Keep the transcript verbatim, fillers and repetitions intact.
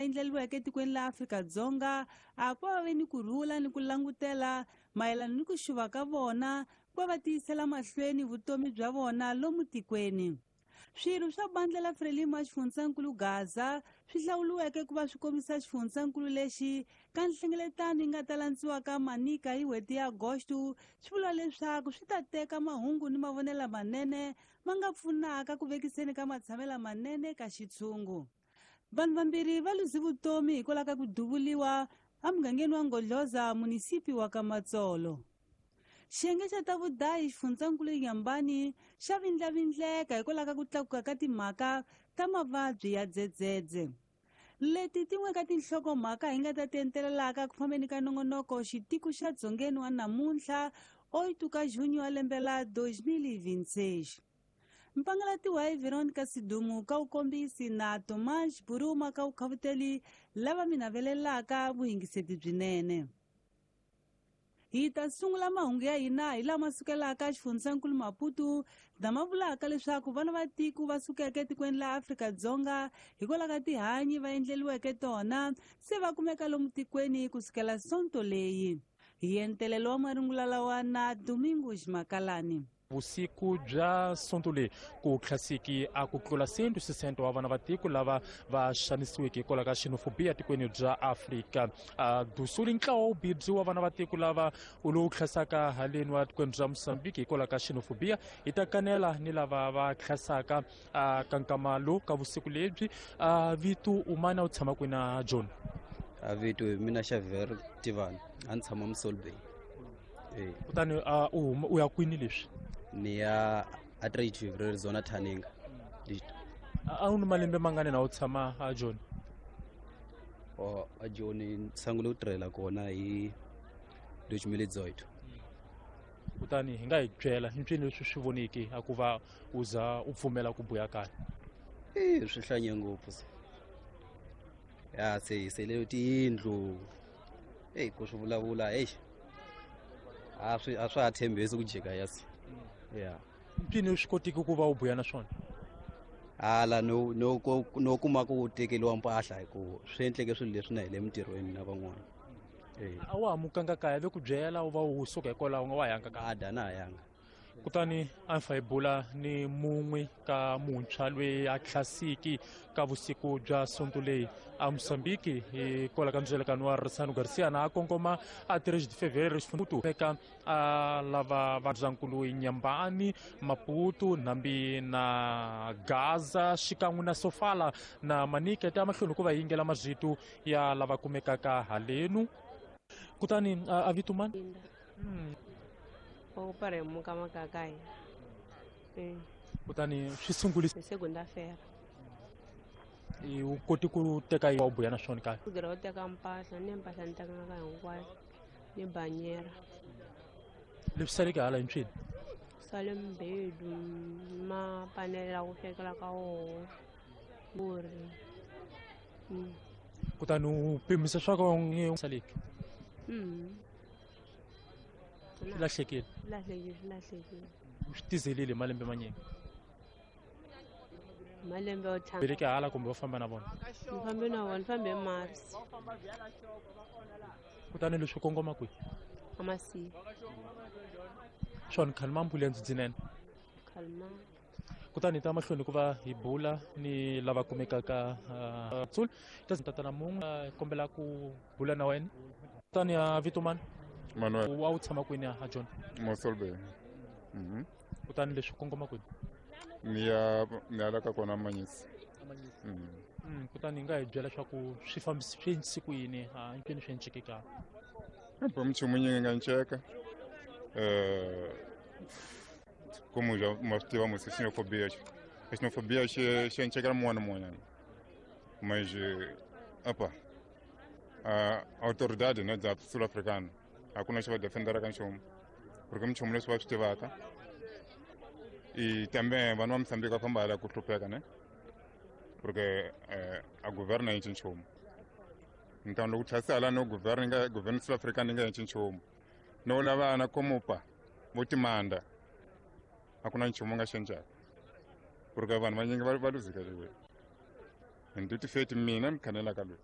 Endleriweke etikweni la Afrika-Dzonga a ku va ve ni ku rhula ni ku langutela mayelana ni ku xuva ka vona ku va va tiyisela mahlweni vutomi bya vona lomu tikweni. Swirho swa bandla la Frelimo ya xifundzankulu Gaza swi hlawuriweke ku va swi kombisa xifundzankulu lexi ka nhlengeletano yi nga ta landziwaka Manica hi n'hweti ya Agosto swi vula leswaku swi ta teka mahungu ni mavonelo lamanene ma nga pfunaka ku vekiseni ka matshamelo lamanene ka xitshungu. Vanhu vambirhi va luze vutomi hikwalaho ka ku duvuriwa emugangeni wa Ngodloza, munisipi wa Kamatsolo. Xiyenge xa ta vudayi xifundzankulu Inhambane xa vindlavindleka hikwalaho ka ku tlakuka ka timhaka ta mavabyi ya dzedzedze. Leti tin'we ka tinhlokomhaka hi nga ta ti entelelaka ku fambeni ka nongonoko xitiko xa Dzongeni wa namuntlha oito ka junho wa lembe la dois mil e vinte e seis. Mpangalatiwa hi Veronica Sidumu ka vukombisi na Tomás Buruma ka vukhavuteli lava mi navelelaka vuyingiseti byinene. Hi ta sungula mahungu ya hina hi lama sukelaka xifundzankulu Maputo lama vulaka leswaku vana va tiko va sukeke etikweni la Afrika-Dzonga hikwalaho ka tihanyi va endleriweke tona se va kumeka lomu tikweni kusukela Sonto leyi. Hi entelelo wa marungula lawa na Domingos Makalani. Vusiku bya Sonto leyi ku tlhasiki a ku tlula cento sesenta wa vana va tiko lava va xanisiweke hikwalaho ka xenofobia tikweni bya Afrika do Sul. Ntlawa wu bibyi wa vana va tiko lava lowu tlhasaka haleni wa tikweni bya Mozambique hikwalaho ka xenofobia hi ta kanela ni lava va tlhasaka ka nkama lowu ka vusiku lebyi. Vito umana u tshama kwini John? A vito hi mina Xavier Tivani, a ni tshama Mossel Bay. Kutani u ya kwini leswi? Ni ya a três de fevereiro zona Thaninga. A wu ni malembe mangani na u tshama a Joni? Oh, a Joni ni sungule ku tirhela kona hi dois mil e dezoito. Kutani hi nga hi byela i ncini leswi swi voniki a ku va u za u pfumela ku buya kaya? Eh, swi hlanye ngopfu se. Ya se hi sele tiyindlu. Ey, ku swi vulavula, ey. A swi a swa ha tshembisi ku jika ya se. Yeah. Mpini u swi kotiki ku va u buya na swona? Hala no no no kuma ku tekeriwa mpahla hi ku swi endleke swilo leswi na hi le mintirhweni na van'wana. Eh. A wa ha mukanga kaya ve ku byela u va u suka hikwalaho nga wa yanga kaya? A da na ha yanga. Kutani a ni fa hi bula ni mun'we ka muntshwa loyi a tlhasiki ka vusiku bya Sonto leyi a Mozambique hikwalaho ka ndzelekano wa Ressano Garcia na a kongoma a três de fevereiro xifundzhankulu eka a lava va ndzankulu Inhambane, Maputo, Nambi na Gaza xikan'we na Sofala na Manica ta mahlweni ku va yingela mazito ya lava kumekaka halenu. Kutani a vito mani? Okuparemuka makakaya. Kutani swi sungule segunda-feira. U koti ku teka yi wa buya na swona kaya? Ku tirha u teka mpahla, ni mpahla ni tekanga hinkwayo, ni banyera. Leswi saleke hala hi ncini? Sale mbedu, mapanela ku swekela ka woho, vuri. Kutani u pimisa swa ka u saleke? Mm. Swi lahlekile? Swi lahlekile, swi lahlekile. U swi tizelile malembe manyingi? Malembe yo tshama. Veleke hala kumbe va famba na vona? Ni fambe na vona, ni fambe hi Mars. Kutani leswi kongoma kwihi? A Masivi. Swona khalma mpfula ya ndzidzinene? Khalma. Kutani hi ta mahlweni ku va hi bula ni lava kumekaka Tsul. Ta tatana mun'we kombela ku bula na wena. Kutani a vito mani? Manuel. U wu tshama kwini a John? Mossel Bay. Mhm. Kutani leswi kongoma kwini? Ni ya ni ya la ka kona Manyisi. Mm. Mm, kutani hi nga hi byela leswaku swi fambisi swi endlise ku yini, a ncini swi enceke ka? Bo nchumu nyingi nga nceka. Eh, como já ma swi tiva musi xenofobia. Xenofobia xi xi encekela mun'wana na mun'wanyana. Mas apa a autoridade né da sul-africana a ku na xi va defenderaka nchumu porque minchumu leswi va swi tivaka e também vanhu va Mozambique va famba hala ku hlupheka ne porque a governo a yi nchumu. Então loko tlhasi hala no governo nga governo sul-africana yi nga endli nchumu no lavana komupa vo timanda a ku na nchumu nga xencaka porque vanhu vanyingi va va luzekeriwe hi ndi tifeti mina ni khanelaka loyi.